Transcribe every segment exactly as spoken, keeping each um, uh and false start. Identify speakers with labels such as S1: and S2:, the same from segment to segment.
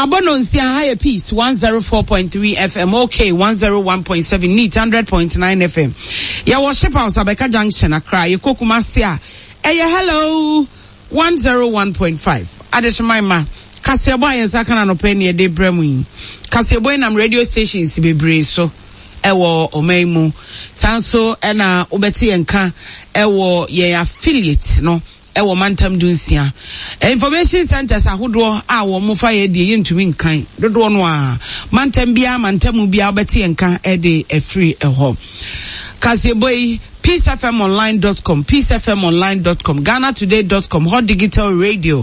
S1: Abɔ no nsia ha yɛ Peace one zero four point three F M, OK one zero one point seven, Neat hundred point nine F M. Yɛwɔ Ship House, Abɛka Junction, Accra. Yɛkɔ Kumasi a, ɛyɛ Hello one zero one point five. Adehyeman ma kaseɛbɔ a yɛn nsa ka na anɔpɛ ne yɛde brɛ mu yi. Kaseɛbɔ yi nam radio stations bebree so ɛwɔ ɔman yi mu. Saa nso ɛna wobɛte yɛn ka ɛwɔ yɛn affiliate no ɛwɔ mantam dunsia, information centers ahodoɔ a wɔn fa yɛ deɛ yɛntumi nkan dodoɔ no a, mantam biara, mantam biara, wobɛte yɛn ka ɛde ɛfiri ɛhɔ. Kaseɛbɔ yi, peace F M online dot com, peace F M online dot com, Ghana Today dot com, Hot Digital Radio,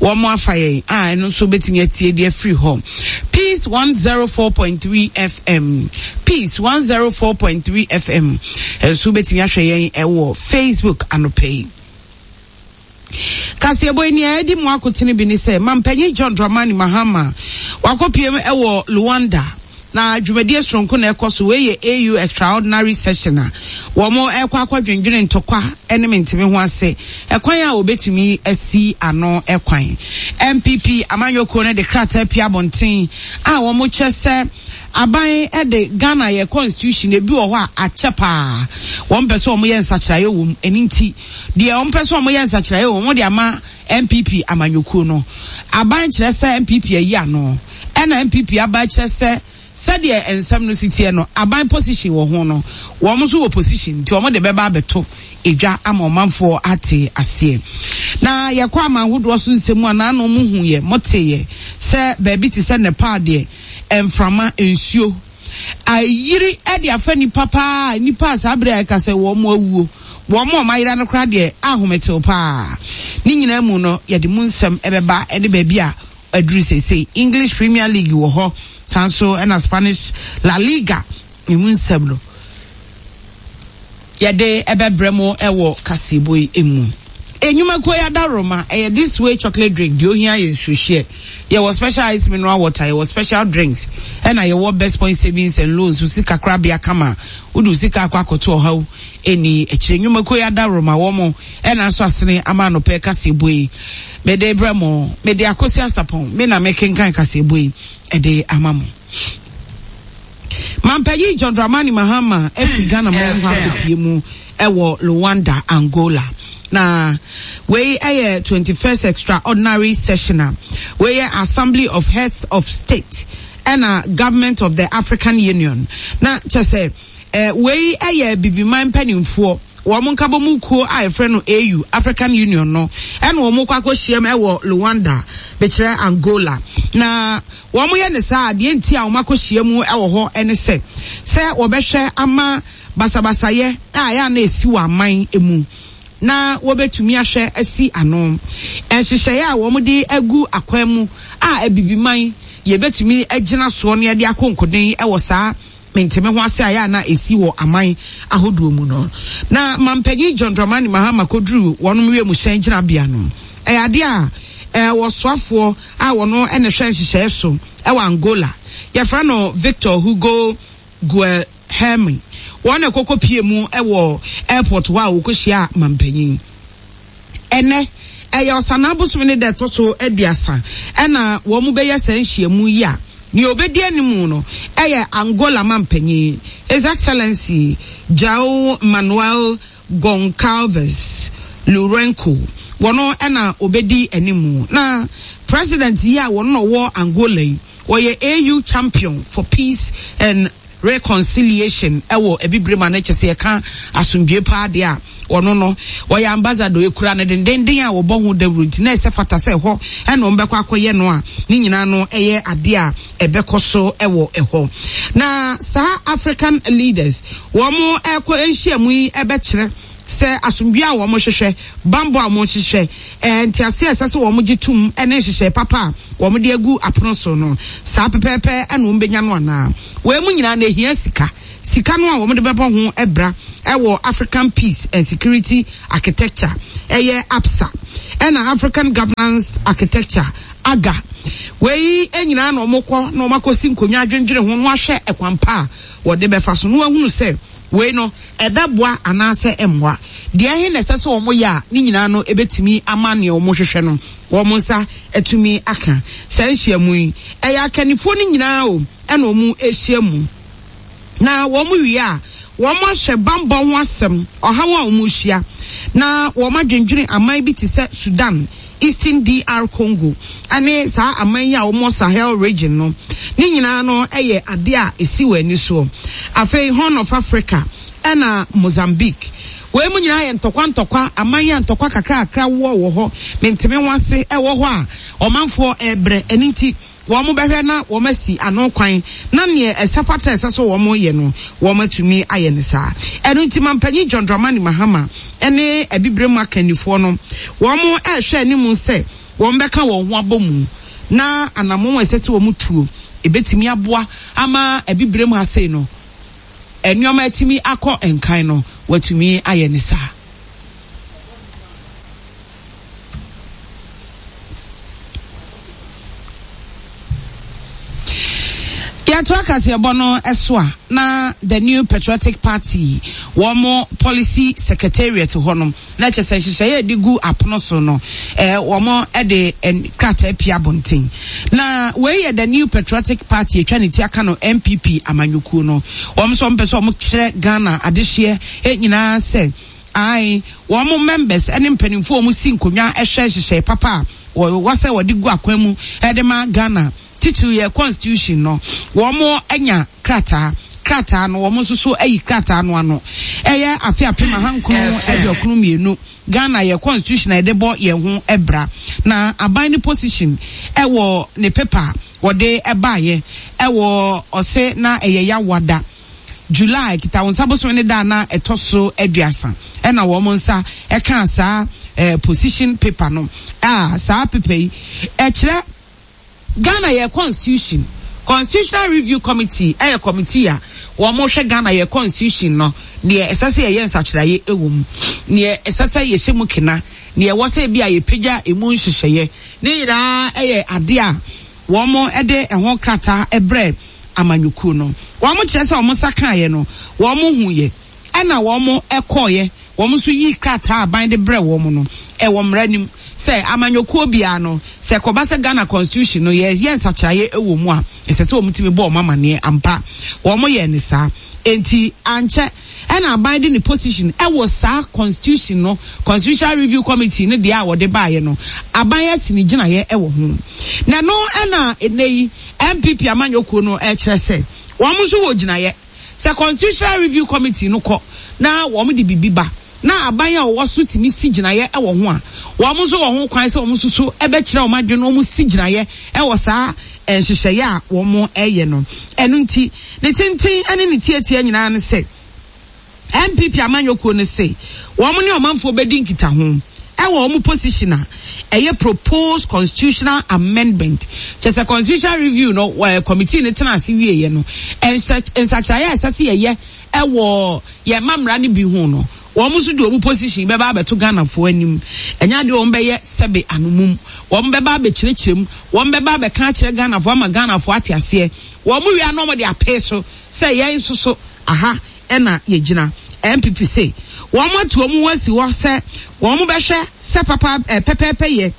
S1: wɔn mo afa yɛn a, ɛno nso bɛtumi atie deɛ afiri hɔ. Peace one zero four point three F M, Peace one zero four point three F M ɛnso bɛtumi ahwɛ yɛn ɛwɔ Facebook anɔpɛ yi. Kaseɛbɔ yi, nea ɛdi mu akotene bi ne sɛ mampanyin John Dramani Mahama wakɔpiem ɛwɔ Luanda na dwumadie soronko na ɛkɔ so. Wei yɛ A U extraordinary session a wɔn ɛkɔ akɔdwendwene ntɔkwa ɛne menteme ho ase, ɛkwan a wɔbɛtumi asi ano ɛkwan. N P P amanyɔkuo no de krataa pia abɔnten a wɔn kyerɛ sɛ aban ɛde Ghana yɛ constitution ebi wɔ hɔ a akyɛ paa, wɔn pɛ sɛ wɔn yɛ nsakyerɛeɛ wɔ mu. Ɛne nti deɛ wɔn pɛ sɛ wɔn yɛ nsakyerɛeɛ wɔ mu, wɔn de ama N P P amanyɔkuo no. Aban kyerɛ sɛ N P P ayi ano, ɛna N P P aba kyerɛ sɛ sɛdeɛ nsɛm no si teɛ no, aban position wɔ ho no, wɔn nso wɔ position, nti wɔn de bɛba abɛto edwa ama ɔmanfoɔ ate aseɛ. Na yɛkɔ ama ahodoɔ so nsɛm a n'ano mu hu yɛ mote yɛ sɛ baabi te sɛ Nepal deɛ, mframa nsuo ayiri ɛde afa nipa paa, nipa a saa abere a ɛka sɛ wɔn mo awuo, wɔn mo a wɔn ayera no koraa deɛ ahometew paa. Ne nyinaa mu no, yɛde mu nsɛm ɛbɛba ɛde baabi a aduru seesei. English Premier League wɔ hɔ, saa nso ɛna Spanish La Liga emu nsɛm no yɛde ɛbɛbrɛ mu ɛwɔ kaseɛbɔ yi mu. Enyumakuo yi adaroma ɛyɛ This Way chocolate drink. Deɛ ohia yɛ nsuohyɛ. Yɛwɔ Special Ice mineral water, yɛwɔ special drinks, ɛna yɛwɔ Best Point Savings and Loans, sika korabea kama wode sika akɔ akɔto ɔhaw ɛni akyire. Nnwumakuo yi adaroma wɔn ɛna nso asene ama anɔpɛ kaseɛbɔ yi mede brɛ mo. Mede Akosi Asapɔn me na mekenkan kaseɛbɔ yi ɛde ama mo. Mampanyin John Dramani Mahama ɛfi Ghana man ho akɔpie mu ɛwɔ Luanda, Angola, na wei ɛyɛ twenty-first extraordinary session a wei yɛ Assembly of Heads of State ɛna Government of the African Union. Na kyɛ sɛ ɛɛ wei ɛyɛ bibiman mpanimfoɔ wɔn nkabɔmu kuo a yɛfrɛ no A U, African Union no, ɛna wɔn kɔ akɔhyia mu ɛwɔ Luanda, bɛkyerɛ Angola. Na wɔn yɛ ne saa adeɛ nti a wɔn akɔhyia mu ɛwɔ hɔ ɛne sɛ sɛ wɔbɛhwɛ ama basabasayɛ a ɛyɛ a na esi wɔ aman mu na wɔbɛtumi ahwɛ asi ano, nhyehyɛeɛ a wɔn de agu akwan mu a abibiman yɛbɛtumi agyina soɔ no, yɛde akɔ nkoden ɛwɔ saa menteme ho ase a yɛ a na esi wɔ aman ahodoɔ mu no. Na mampanyin John Dramani Mahama kɔduru wɔn wiemhyɛn gyinabea no, ɛyɛ adeɛ a ɛɛ wɔsoafoɔ a wɔn ɛna hwɛ nhyehyɛeɛ so ɛwɔ Angola, yɛfrɛ no Victor Hugo Guilherme, wɔn na ɛkɔkɔ pie mu ɛwɔ airport hɔ a wɔkɔhyia mampanyin. Ɛnɛ ɛyɛ Ɔsanaa bosome ne da ɛtɔ so aduasa ɛna wɔn bɛyɛ saa nhyiamu yi a nea obedi anim no ɛyɛ Angola mampanyin, His Excellency João Manuel Goncalves Lourenco, wɔn ɛna obedi anim. Na president yi a wɔn na ɔwɔ Angola yi, wɔyɛ A U champion for peace and reconciliation ɛwɔ Ebibire mu a ne kyɛ sɛ yɛka asomdwe paa deɛ a, ɔno no wɔyɛ ambassador ekura no dendenden a wɔbɔ ho dawuro, nti na ɛsɛ fata sɛ ɛhɔ ɛna wɔn bɛkɔ akɔyɛ no a ne nyinaa no ɛyɛ adeɛ a ɛbɛkɔ so ɛwɔ ɛhɔ. Na saa African leaders wɔn ɛkɔ nhyiamu yi ɛbɛkyerɛ sɛ asomdwe a wɔn hwehwɛ, bambɔ a wɔn hwehwɛ, ɛɛ ntease a ɛsɛ sɛ wɔn gye tum, ɛne nhyehyɛ papa a wɔn de agu apono so no, saa pɛpɛɛpɛ ɛna wɔn bɛnya no anaa. Wɔn mu nyinaa na ehia sika. Sika no a wɔn de bɛbɔ ho ɛbra ɛwɔ African Peace and Security Architecture, ɛyɛ APSA, ɛna African Governance Architecture, AGA. Wei nyinaa na wɔn kɔ na wɔn akɔsi nkonnwa adwendwene ho na wɔahwɛ ɛkwan pa a wɔde bɛfa so na wɔahunu sɛ Wei no ɛbɛboa anaasɛ ɛmmoa? Deɛ ɛhe na ɛsɛ sɛ wɔn yɛ a ne nyinaa no ebɛtumi ama nea wɔn hwehwɛ no wɔn nsa atumi aka? Saa nhyiamu yi, ɛyɛ akannifoɔ no nyinaa o ɛna wɔn ahyia mu, na wɔn wie a, wɔn ahyɛ bambɔ ho asɛm, ɔhaw a wɔn ahyia, na wɔn adwendwene aman bi te sɛ Sudan, Eastern D R Congo ɛne saa aman yi a wɔn Sahel region no. Ne nyinaa no yɛ adeɛ a esi wɔn ani soɔ. Afei Horn of Africa ɛna Mozambique, wei mu nyinaa yɛ ntɔkwa ntɔkwa aman yi a ntɔkwa kakrakra wɔ wɔ hɔ, menteme ho ase ɛwɔ hɔ a ɔmanfoɔ ɛrebrɛ. Ɛne nti wɔn bɛhwɛ na wɔn asi ano kwan na neɛ ɛsɛ fata ɛsɛ so wɔn yɛ no, wɔn atumi ayɛ ne saa. Ɛno nti mampanyin John Dramani Mahama ɛne Abibire mu akannifoɔ no, wɔn ɛrehwɛ anim sɛ wɔn bɛka wɔn ho abɔ mu na anammɔn a ɛsɛ sɛ wɔn tuo ebetumi aboa ama Abibire mu ha sei no nneɛma atumi akɔ nkan no, wɔatumi ayɛ ne saa. Yɛato akaseɛbɔ no so a, na The New Patriotic Party wɔn policy secretariat hɔ no, na kyerɛ sɛ nhyehyɛeɛ a yɛde gu apono so no, ɛɛ wɔn de krataa pia abɔnten. Na wei yɛ The New Patriotic Party, atwa ne ti aka no N P P amanyɔkuo no. Wɔn nso wɔn pɛ sɛ wɔn kyerɛ Ghana adehyeɛ nyinaa sɛ ae, wɔn members ne mpanimfoɔ a wɔn si nkonnwa hwɛ nhyehyɛe papa a wɔwɔ sɛ wɔde gu akwan mu de ma Ghana, titiri yɛ constitution no. Wɔn anya krataa krataa no, wɔn nso so ayi krataa no ano. Ɛyɛ afe apem ahankron aduokron mmienu Ghana yɛ constitution a yɛde bɔ yɛn ho bra, na aban ne position ɛwɔ ne paper wɔde ɛbaayɛ ɛwɔ ɔsɛ na ɛyɛ Yawoada, July kita wɔn nsa bosom ne da na ɛtɔ so aduasa, ɛna wɔn nsa ɛka saa ɛɛ position paper no. A saa paper yi ɛkyerɛ Ghana yɛ constitution. Constitutional Review Committee ɛyɛ committee a wɔn hwɛ Ghana yɛ constitution no, deɛ ɛsɛ sɛ yɛyɛ nsakyerɛeɛ ɛwɔ mu, deɛ ɛsɛ sɛ yɛhyɛ mu kena, deɛ ɛwɔ sɛ ebi a yɛpagya emu nhyehyɛeɛ ne nyinaa. Ɛyɛ adeɛ a wɔn de ɛho krataa ɛbrɛ amanyɔkuo no. Wɔn kyerɛ sɛ wɔn nsa kaeɛ no, wɔn hu yɛ, ɛna wɔn ɛkɔɔyɛ, wɔn nso yi krataa aban de brɛ wɔn no. Ɛwɔ mmara nim sɛ amanyɔkuo biara no, sɛ kɔba sɛ Ghana constitution no yɛ yɛ nsakyerɛeɛ ɛwɔ mu a, ɛsɛ sɛ wɔn tumi bɔ wɔn amaneɛ ampa. Wɔn yɛ ne saa nti ankyɛ ɛna aban de ne position ɛwɔ saa constitution no, Constitutional Review Committee no deɛ a wɔde baayɛ no, aban asi ne gyinaeɛ ɛwɔ ho. Na no ɛna ɛnɛ yi N P P amanyɔkuo no ɛkyerɛ sɛ wɔn nso wɔ gyinaeɛ sɛ Constitutional Review Committee no kɔ na wɔn de bibi ba na aban a wɔwɔ so tumi si gyinaeɛ ɛwɔ ho a, wɔn nso wɔ ho kwan sɛ wɔn nso so ɛbɛkyerɛ wɔn adwene na wɔn si gyinaeɛ ɛwɔ saa nhyehyɛeɛ a wɔn ɛyɛ no. Ɛno nti ne tenten ɛne ne tietie nyinaa ne sɛ N P P amanyɔkuo no se wɔn ne ɔmanfoɔ bɛdi nkitaho ɛwɔ wɔn position a ɛyɛ proposed constitutional amendment, kyɛ sɛ constitutional review no wɔ committee no tena ase wieɛ no, nsakyerɛeɛ a ɛsɛ sɛ yɛyɛ ɛwɔ yɛn mmara no bi ho no, wɔn nso de wɔn position bɛba abɛto Ghanafoɔ anim. Ɛnyɛ adeɛ wɔn bɛyɛ sɛbe anomum, wɔn bɛba abɛkyerɛkyerɛ mu, wɔn bɛba abɛka akyerɛ Ghanafoɔ ama Ghanafoɔ ate aseɛ. Wɔn wia na wɔn de apee so sɛ yɛn nso so aha ɛna yɛgyina. N P P se wɔn atu wɔn ho asi hɔ sɛ wɔn bɛhwɛ sɛ papa ɛ pɛpɛɛpɛ yɛ.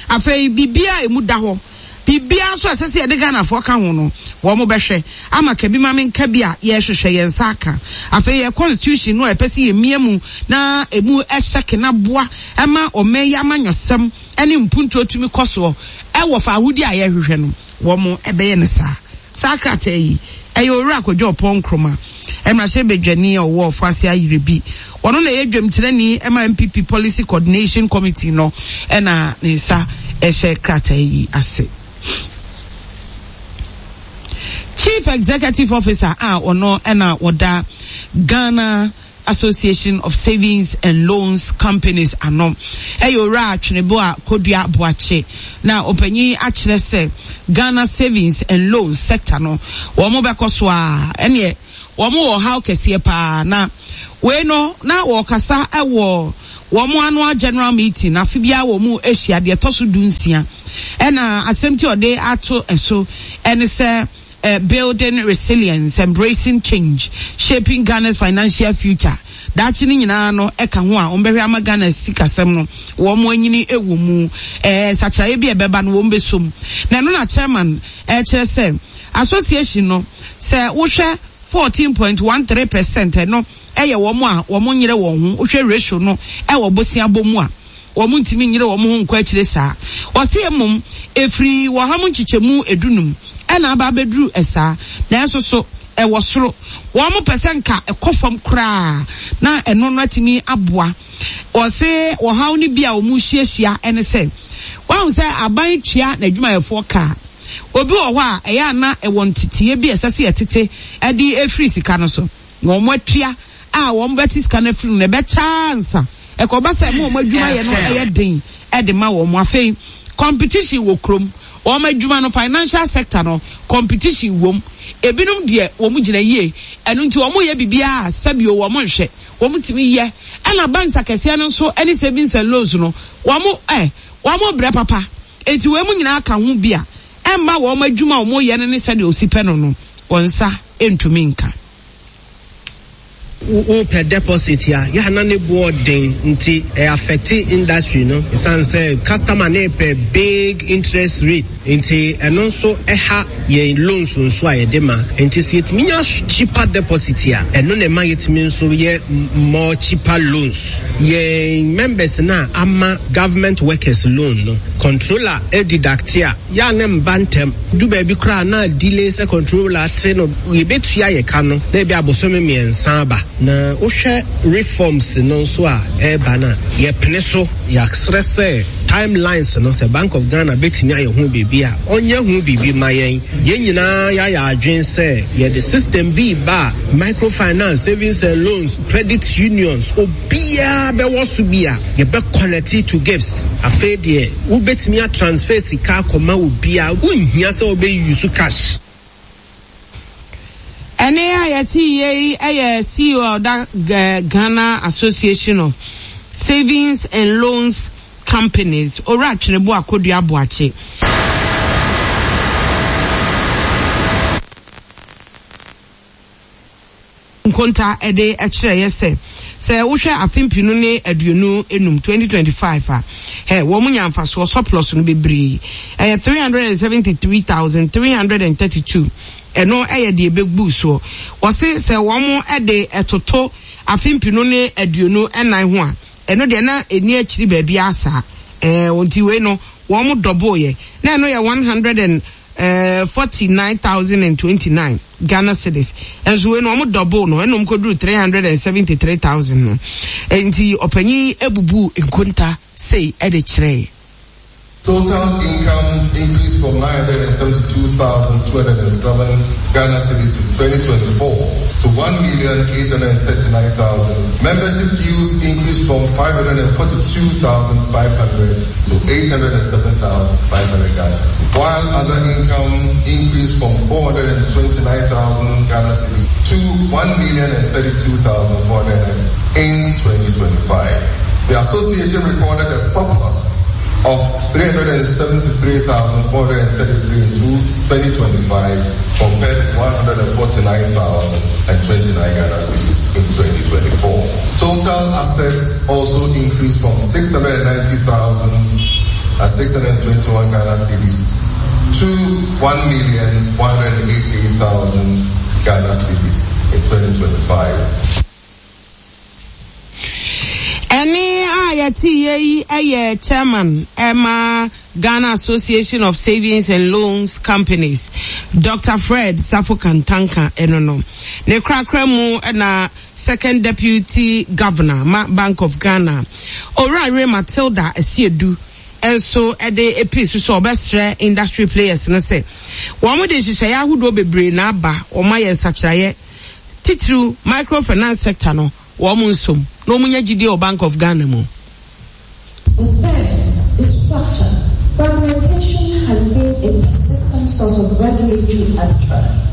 S1: Afei biribiara emu da hɔ, biribiara nso a ɛsɛ sɛ yɛde Ghanafoɔ ka ho no, wɔn bɛhwɛ ama kabi maame nka bi a yɛrehwehwɛ yɛn nsa aka. Afei yɛ constitution no a ɛpɛ sɛ yɛmia mu na emu ɛhyɛ kena boa ɛma ɔman yi amanyɔsɛm ɛne mpuntuo tumi kɔ soɔ ɛwɔ fa ahodie a yɛrehwehwɛ no, wɔn ɛbɛyɛ ne saa. Saa krataa yi ɛyɛ Owura Akwadwo Ɔpɔn Nkroma, mmarahyɛ badwani a ɔwɔ Ɔfoase Ayerɛ ɔno na ɛyɛ dwamtenani ɛma N P P Policy Coordination Committee no, ɛna ne nsa ɛhyɛ krataa yi ase. Chief Executive Officer a ɔno ɛna wɔda Ghana Association of Savings and Loans Companies ano ɛyɛ Owura Atwenebo a Kodua Boakye, na ɔpanyin akyerɛ sɛ Ghana savings and loans sector no, wɔn bɛkɔ so a ɛneɛ wɔn wɔ haw kɛseɛ paa. Na wei no na wɔkasa ɛwɔ wɔn annual general meeting afe biara wɔn mu ahyia deɛ ɛtɔ so du nsia, ɛna asɛm tí ɔde ato ɛso ɛne sɛ eh, Building Resilience, Embracing Change, Shaping Ghana's Financial Future. Daakye no nyinaa no ɛka ho a wɔn bɛhwɛ ama Ghana sikasɛm no wɔn anyini wɔ mu. Ɛɛ nsakyeraeɛ bi a ɛbɛba no wɔn bɛsom. Na ɛno na chairman ɛkyerɛ sɛ association no, sɛ wohwɛ fourteen point one three percent, ɛno ɛyɛ wɔn a wɔn nyere wɔn ho. Wohwɛ ratio no ɛwɔ bosia bɔ mu a, wɔn ntumi nyere wɔn ho nkɔ akyire saa. Wɔsi emom efiri wɔha mu nkyekyɛmu edunum ɛna aba abɛduru ɛsaa, nanso so ɛwɔ soro. Wɔn pɛ sɛ nka ɛkɔ fam koraa na ɛno no atumi aboa. Wɔsi wɔhaw no bi a wɔn hyiahyia ɛne sɛ wɔn sɛ aban tua n'adwumayɛfoɔ kaa, obi wɔ hɔ a ɛyɛ ana ɛwɔ nteteɛ bi a ɛsɛ sɛ yɛtete ɛde efiri sika no so na wɔn atua a wɔn bɛte sika no afiri no na ɛbɛkyaa nsa ɛkɔba sɛ ɛmo wɔn adwuma yɛ no ɛyɛ den ɛde ma wɔn. Afei competition wɔ kurom, wɔn adwuma no, financial sector no, competition wɔm. Ebinom deɛ wɔn gyina yie, ɛno nti wɔn yɛ biribiara sɛbio wɔn nhwɛ wɔn tumi yɛ. Ɛna banks akɛseɛ no nso ɛne savings and loans no, wɔn ɛ wɔn brɛ papa. Eti wɔn mu nyinaa ka ho bi a ɛmma wɔn adwuma a wɔn yɛ no ne sɛdeɛ osi pɛ no no wɔn nsa ntumi nka.
S2: Wopɛ deposit a yɛana ne boɔ den, nti ɛ affect industry no, ɛsiane sɛ customer ne pɛ big interest rate, nti ɛno nso ɛha yɛn loans nso a yɛde ma. Nti sɛ yɛtumi nya cheaper deposit a, ɛno na ɛma yɛtumi nso yɛ more cheaper loans. Yɛn members na ama government workers loan no, controller deduct a yɛa ne mba ntɛm du baabi koraa na delay sɛ controller te no yɛbɛtua yɛ ka no na ebi abosome mmiɛnsa aba. Na wohwɛ reforms no nso a ɛreba no a, yɛpene so. Yɛasrɛ sɛ timelines no, sɛ Bank of Ghana bɛtumi ayɛ ho biribi a, ɔnyɛ ho biribi ma yɛn. Yɛn nyinaa yɛayɛ adwen sɛ yɛde system bi ba a microfinance, savings and loans, credit unions, obiara bɛwɔ so bi a yɛbɛ connect to GhIPSS. Afei deɛ wobɛtumi atransfer sika akɔma obiara, wonhia sɛ wobɛyi cash.
S1: Ɛne a yɛte yie yi ɛyɛ C E O a ɔda Ghana Association of Savings and Loans Companies, Owura Twenebo Akodua Aboakye. Nkonta ɛde ɛkyerɛ yɛ sɛ sɛ wohwɛ afe mpinu ne aduonu enum, twenty twenty-five a, ɛ wɔn nya mfasoɔ surplus no bebree, ɛyɛ three hundred and seventy three thousand three hundred and thirty two. Ɛno ɛyɛ deɛ ɛbɛgu soɔ. Wɔsi sɛ wɔn ɛde ɛtoto afe mpinu ne aduonu ɛnan ho a, ɛno deɛ na ɛni akyiri baabi asa ɛɛ nti wei no wɔn double yɛ na ɛno yɛ one hundred and forty nine thousand and twenty nine Ghana cedis. Ɛnso wei no wɔn double no, ɛna wɔn kɔduru three hundred and seventy three thousand no. Nti ɔpanyin ebubu nkonta sei ɛde kyerɛ.
S3: Total income increased from nine hundred seventy-two thousand two hundred seven Ghana cedis in twenty twenty-four to one million eight hundred thirty-nine thousand. Membership dues increased from five hundred forty-two thousand five hundred to eight hundred seven thousand five hundred Ghana cedis, while other income increased from four hundred twenty-nine thousand Ghana cedis to one million thirty-two thousand four hundred in twenty twenty-five. The association recorded a surplus of three hundred seventy-three thousand four hundred thirty-three in twenty twenty-five compared to one hundred forty-nine thousand twenty-nine Ghana cedis in twenty twenty-four. Total assets also increased from six hundred ninety thousand six hundred twenty-one Ghana cedis to one million one hundred eighty-eight thousand Ghana cedis in twenty twenty-five.
S1: Ɛne a yɛte yie yi ɛyɛ chairman ɛma Ghana Association of Savings and Loans Companies, Doctor Fred Safo Kantanka. Ɛno no ne korakora mu ɛna second deputy governor ma Bank of Ghana, Owura Matilda Asiedu, nso ɛde epi so sɛ ɔbɛsrɛ industry players no sɛ wɔn de nhyehyɛeɛ ahodoɔ bebree na aba, wɔn ayɛ nsakyerɛeɛ titiriw microfinance sector no, wɔn nsom na wɔn nya gyidie wɔ Bank of Ghana mu.
S4: The third is structure. Fragmentation has been a persistent source of regulatory arbitrary.